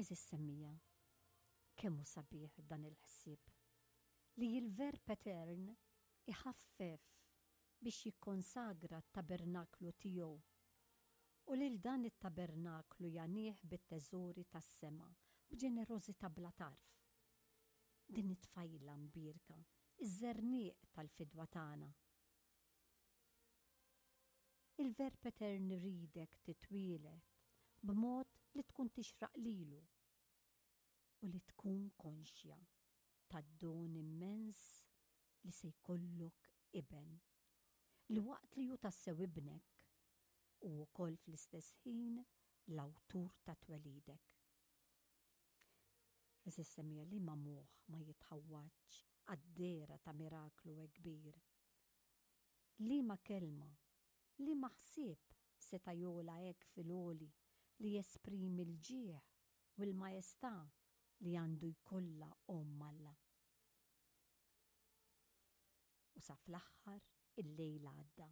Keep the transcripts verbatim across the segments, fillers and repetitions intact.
Għeżież semmiegħa, kemm hu sabiħ dan il-ħsieb li l-Verb Etern iħaffef biex jikkonsagra t-tabernaklu tiegħu u lil dan it-tabernaklu jagħnih bit-teżori tas-sema b'ġenerożità bla tarf. Din it-tfajla mbierka, iż-żerniq tal-fidwa tagħna. Il-Verb Etern iridek titwieled b'mod li tkun tixraq lilu u li tkun konxja tad-don immens li se jkollok iben. Li waqt li hu tassew ibnek u wkoll fl-istess ħin l-awtur ta' twelidek. Għeżież semmiegħa, liema moħħ ma jitħawwadx għad-dehra ta' miraklu hekk kbir? Liema kelma, liema ħsieb seta' jogħla hekk fil-għoli li jesprimi l-ġieħ u l-majestà li għandu jkollha omm Alla? U sa fl-aħħar il-lejl għadda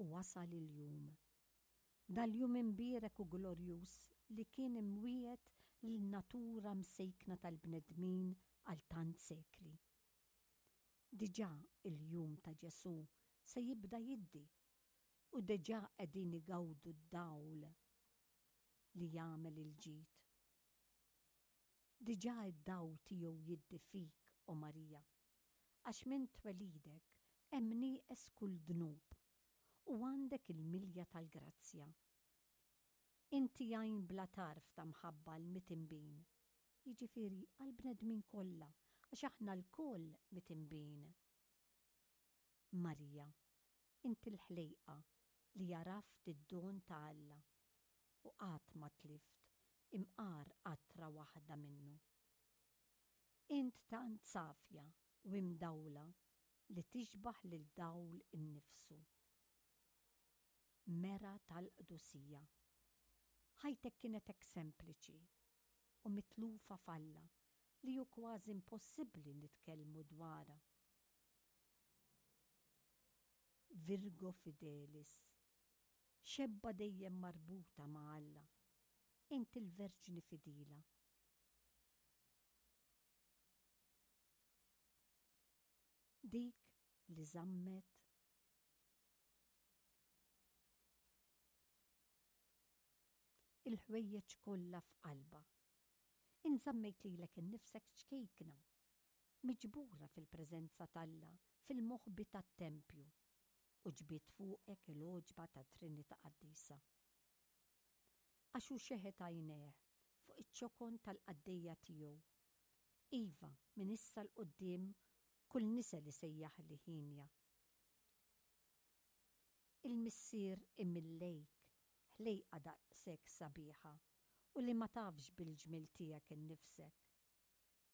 u wasal il-jum. Dal-jum imbierek u glorjuż li kien imwiegħed lin-natura msejkna tal-bnedmin għal tant sekli. Diġà il-jum ta' Ġesù se jibda jiddi u diġà qegħdin igawdu d-dawl li jagħmel il-ġid. Diġà id-dawl tiegħu jiddi fik, o Marija, għax minn twelidek hemm nieqes kull dnub u għandek il-milja tal-grazzja. Inti għajn bla tarf ta' mħabba l-mitinbin, jiġifieri għall-bnedmin kollha, għax aħna lkoll mitinbin. Marija, inti l-ħlejqa li għaraft id-don ta' Alla u qatt ma tlift imqar qatra waħda minnu. Int tant safja u imdawla li tixbaħ lil dawl innifsu. Mera tal-qdusija. Ħajtek kienet hekk sempliċi u mitlufa f'Alla li hu kważi impossibbli nitkellmu dwarha. Virgo Fidelis, xebba dejjem marbuta ma' Alla, inti l-Verġni fidila. Dik li żammet il-ħwejjeġ kollha f'qalbha. Int żammejt lilek innifsek ċkejkna, miġbura fil-preżenza t'Alla fil-moħbi tat-tempju, u ġbidt fuqek il-għoġba tat-Trinità Qaddisa. Għax hu xeħet għajnejh fuq iċ-ċokon tal-qaddejja tiegħu. Iva, minn issa 'l quddiem kull nisel isejjaħli hienja. Il-Missier imil lejk, ħlejqa daqshekk sabiħa, u li ma tafx bil-ġmiel tiegħek innifsek.